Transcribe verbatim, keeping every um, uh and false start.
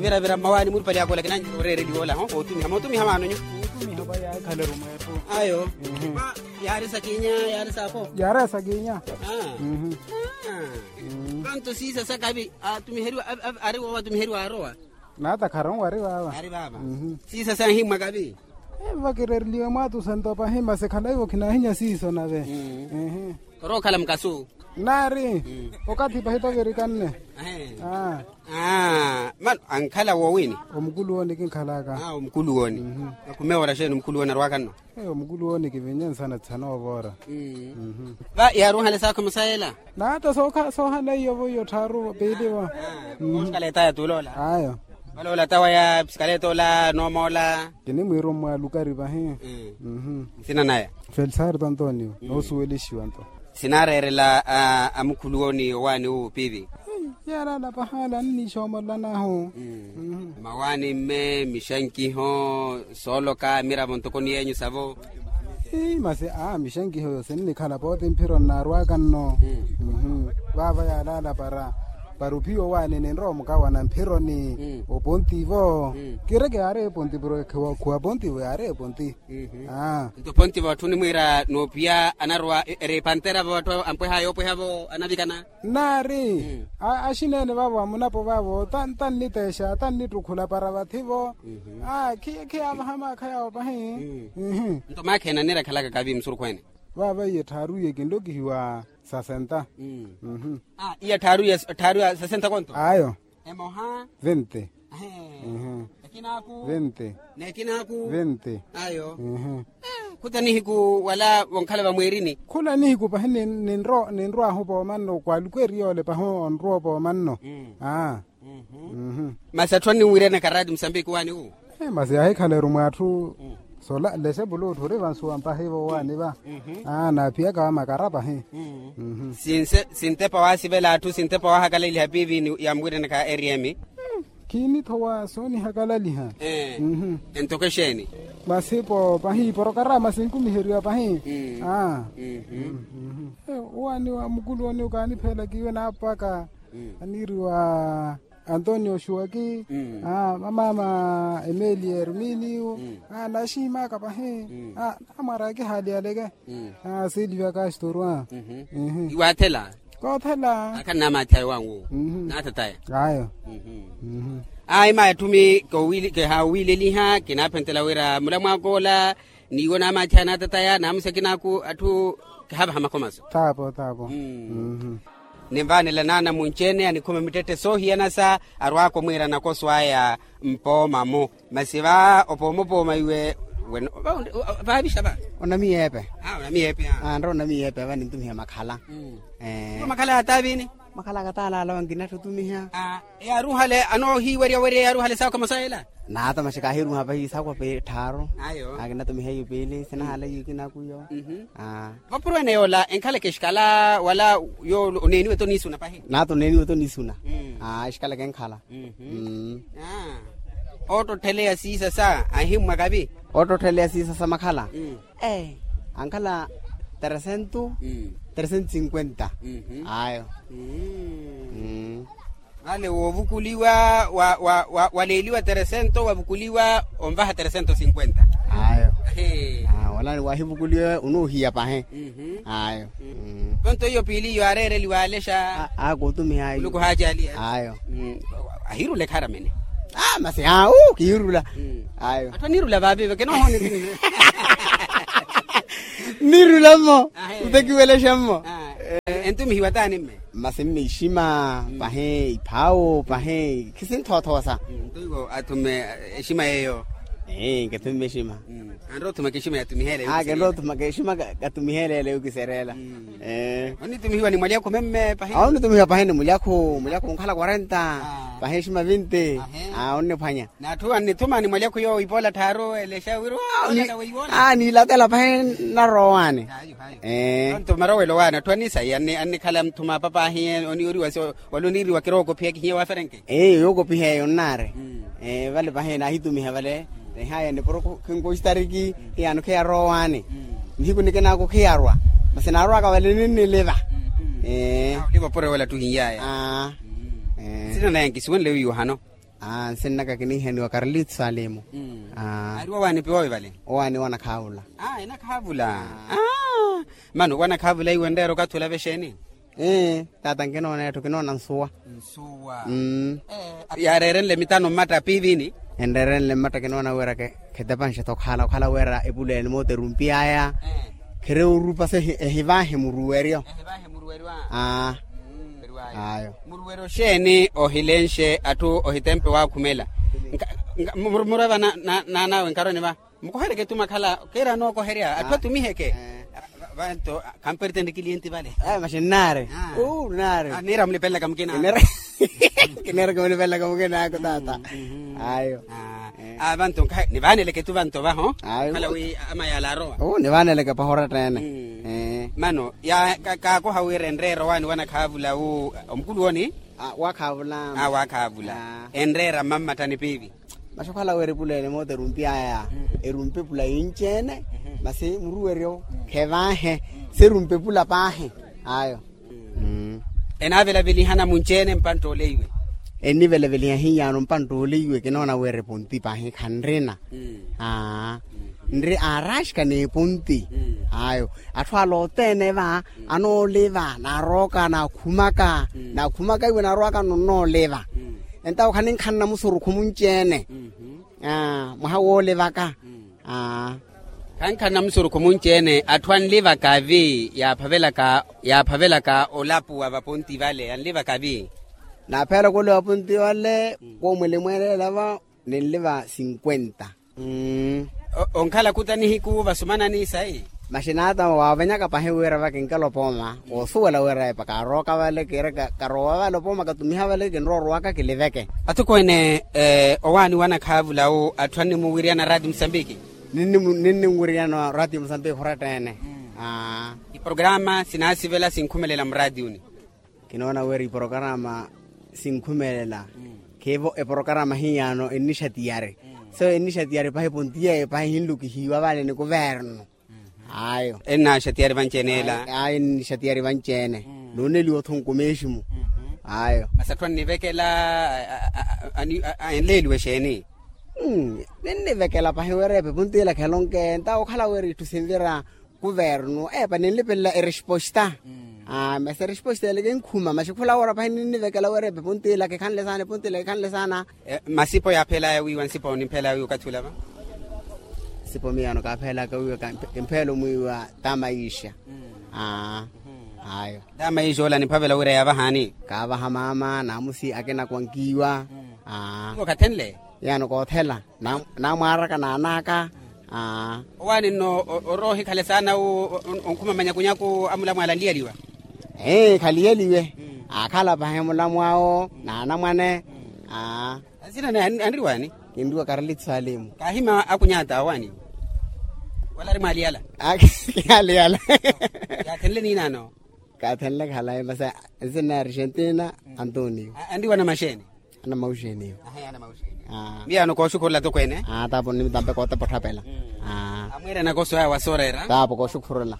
Viravira mmawaani murupali akola kinanyi oreereliwa ola ho otumiha mootumiha maano nyu. Otumiha pa yaakhaleru mweepo. Ayo. Yaari sakinya. Yaari sako. Yaari sakinya. Kanto siisa sakavi atumiheriwa. Ari wowa atumiheriwa arowa. Naata kharonwari vaava. Ari vaava. Siisa sahimmwa kavi. Vakirereliwe mwaatusa nto pahi masi khalaivo khinahinya siiso nave. Orookhala mukasu. Naari. Okathi pahi tovirikhanne. Mano ankhala woowini. Omukuluwoni kinkhalaka. Omukuluwoni. Akhume wora xeeni omukuluwoni arwaka nno. Omukuluwoni kivinye nsana tsihana ovoora. Va yaaruhale saakho musayela. Naata soohala iyo vo iyo tthaaru piili vo. Osikaleeta ya tuuloola. Ayo. Valoola tawa ya sikaleta ola noomoola. Kinimwiiru mmwaalukari vahi. Nsina naya. Felisarto antonio noosuwelixiwa nto. Sinaareerela amukhuluwoni owaani uwo piivi. Yalaala pahaala anniixoomololanahu. Mmawaani mme mixankiho sooloka miravo ntoko ni yeenyu savo. Masi a mixankiho yo sinnikhala pooti mphiro nnaarwaka nno. Vaava yaalaala para para ophiya owaani ninrowa omukawana mphironi opontivo. Kireke yaari eponti puro ekhiwa okhuwa pontivo yaari eponti. Nto pontivo atthu nimwiira noophiya anarowa eri epantera vo atthu ampweha yoopwehavo anavikana. Nnaari axineene vaavo amunapo vaavo tanniteexa tannittukhula para vathi-vo. Khiyaavaha maakha yaawo pahi. Nto maakha ena nirakhalaka kavi musurukhweene. Vaava iye tthaaru iye kinlokihiwa sasenta. Iya tthaaru ya sasenta konto. Ayo. Emoha. Vente. Ekinaaku. Vente. Nekinaaku. Vente. Ayo. Khuta nihiku wala vonkhala vamwiirini. Khula nihiku pahi ninrwaahu poomanno kwaaluku eri yoole pahi onrwa opoomanno. Masi atthu anniwiiryanaka raati musambiki waani wu. Masi yaahikhaleru mwaatthu. Sola lese puluutthu ori vansuwa mpahi vowaani va. Naaphiyaka vamakara pahi. Sintepa waasivela atthu sintepa waahakalaliha piivini yamwiiranaka eri emi. Khiinithowa soonihakalaliha. Entoko exeeni. Masi po pahi iporokarama sinkumiheriwa pahi. Owaani wa mukulu ooni okaanipheela kiiwe naapaka aniiriwa antonio xuwaki. Mamaama emeli herminio. Naxihimaaka pahi. Namwara akihaaliyaleke. Silvia kastorwa. Iwaathela. Koothela. Akhanna amaathi ayo wangu. Naatataya. Ayo. Ayi maya thumi kihaawiileliha kinaaphentela wira mulamwaakoola. Niiwo naamaathi anaatataya naamusekinaaku atthu. Kihaavaha makhomaso. Taapo taapo. Ninvaanela naana munci-ene anikhuma mittette soohiyanasa arwaaka omwiira nakoso aya. Mpooma-mo. Masi va opooma opooma iwe. Vaavixa va. Onamiyeepe. Onamiyeepe. Anre onamiyeepe va nintumiha makhala. Makhala yataavini. Makhala akataalaala wankinattutumiha. Eyaaruhale anoohiiweryawerya eyaaruhale saakho masayela. Naata maxi kaahiruha pahi saakho pi tthaaru. Akinatumiha iyo piili sinahaala iyo kinaaku iyo. Vapuro ene yoola enkhaleke exikala wala? Yoolo oneeniwe to niisuna pahi. Naata oneeniwe to niisuna. Exikala kenkhala. Oottotteleya siisasa ahimmwa kavi. Oottotteleya siisasa makhala. Ankhala tresento. Tresento sinkwenta. Ayo. Vale woovukuliwa waleeliwa tresento wavukuliwa onvaha tresento sinkwenta. Ayo. Wala waahivukuliwa onoohiya pahi. Ayo. Tonto iyo piili iyo aareereliwa alexa. Akutumiha ayo. Ayo. Ahiirula ekharamene. Masi awu kihiirula. Ayo. Atthu aniirula vaaviiva kenohoni. Niirula mmo. Utekiwelexa mmo. Entumihiwa taani mme. Masi mme exima pahi iphaawo pahi khisinthoothoosa. Nto iwo athume exima yeeyo. Ee nkethumme exima. Anrowa othumaka exima yatumiheele. Kenrowa othumaka exima katumiheele ele yokisereela. Ee. Onitumihiwa ni mwalyakhu memme pahi. Onitumihiwa pahi ni mulyakhu mulyakhu onkhala quarenta. Pahi exima vinti. Onniphwanya. N'atthu annithuma ni mwalyakhu yoowo ipoola tthaaru elexa wira. Niilatela pahi narowa owaani. Ee. Tonto marowelo waani atthu annisaiya annikhala mutthuma apa paahiye oniiriwa wala oniiriwa kirookophiya kihiye waaferenke. Ee yookopiha eyo nnaari. Vale pahi naahitumiha vale. Ehaya nipuro khinkoxtariki hiyaano khiyarowa owaani. Nihiku nikinaaku khiyarwa. Masi naarwaka vale ninniliva. Ee. Oliva opuro wala ttuhinyaya. Sina naye nkisiwenle wiiwa hano. Nsinnaka kiniiheniwa karlito salimu. Aari owaani piwoowi vale? Owaani wanakhaavula. Enakhaavula. Mano wanakhaavula iwe nreera okathi olava exeeni? Taata nkinoona etthu kinoona nsuwa. Nsuwa. Yaareerenle mitano mmatta piivini? Enreerenle mmatta kinoona wira khetepanxe-tho okhala okhala wira epuleni moota erumpiyaya. Khereya orupa se ehivaahe muruweryo. Ayo. Muruweryo xeeni ohilenxe atthu ohitempe waakhumela? Murweva naanawe nkharoni va mukohereke tu makhala kiira anookoherya atthu atumiheke. Vanto khampertenti kiliyenti vale. Maxi nnaari. Nnaari. Niira mulipelelaka mukina. Kineera kimulipelelaka mukina ako taata. Ayo. Vanto nivaaneleke tu vanto vaho. Khala wi amayala arowa. Nivaaneleke paho oratta-ene. Mano kaakoha wira enreera owaani wanakhaavula wu omukulu wooni. Wakhaavula. Wakhaavula. Enreera mmammattani piivi? Maxi okhala wira epuleni moota erumpiyaya. Erumpa epula yinci-ene. Masi muruweryo khevaahe. Serumpa epula paahi. Ayo. Enaavelavelihana munci-ene mpantta ole iwe? Ennivelaveliha hiyano mpantta ole iwe kinoona wira eponti paahi khanrina. Nri aaraxika n'eponti. Ayo. Atthu ala othene va anooliva naarooka naakhumaka. Naakhumaka iwe naarowaka nonnooliva. Entawo khaninkhanna musurukhu munci-ene. Mwaha woolivaka. Khankhanna musurukhu munci-ene atthu anlivaka vi yaaphavelaka olapuwa vaponti vale anlivaka vi? Naaphavelaka olapuwa vaponti vale. Koomulimwelela va ninliva sinkwenta. Onkhala khuta nihiku vasumanani sayi? Maxi naata waavenyaka pahi wira va kinkela opooma woosuwela wira epa kaarooka vale kiiraka karowa vale opooma katumiha vale kinroorowaka kiliveke. Athukweene owaani wanakhaavula wu atthu annimuwiryana raati musambiki? Ninnimuwiryana raati musambiki oratta-ene. Iporokaraama sinaasivela sinkhumelela muraatiyuni. Kinoona wira iporokaraama sinkhumelela. Khiivo eporokaraama hiyano ennixatiyari. So ennixatiyari pahi pontiye pahi hinlukihiwa vale ni kuvernu. Ayo. Ennaxatiyari vanci-ene ela? Ayo ennixatiyari vanci-ene. Nooneliwa otho nkumeeximu. Ayo. Masi atthu annivekela enleeliwe exeeni? Ninnivekela pahi wira epe ponti ela khelonke ntawo okhala wira itthu sinvira kuvernu epa ninlipelela eresposta. Masi eresposta ele kinkhuma maxi khula wira pahi ninnivekela wira epe ponti ela kikhanle saana eponti ela kikhanle saana. Masipo yaaphelaya wiiwa nsipo nimphelaya wiiwa okathi ula va? Nsipo miyano kaaphelaka wiiwa kimpheelo mwiiwa. Tamaixa. Ayo. Tamaixa ola nimphavela wira yaavahaani? Kaavaha maama naamusi akina kwankiwa. Iwo kathenle? Yano koothela. Naamwaaraka naanaka. Owaani nno oroohikhale saana wu onkhuma manyakunyaku amulamwaala anliyaliwa? Ee khaliyaliwe. Aakhala pahi mulamwaawo naanamwane. Asina naye anriwaani? Kinriwa karlito salimu. Kaahima akunyata owaani? Wala ari mwaaliyala? Kiyaaliyala. Yaathenle niinaano? Kaathenle khalayi masi. Nsina ya argentina. Antonio. Anriwa anamaxeeni? Anamaxeeni. Miyano kooxukhurela tokweene. Taapo nitampe kootepa otthapela. Amwiirana koso aya wasooreera. Taapo kooxukhurela.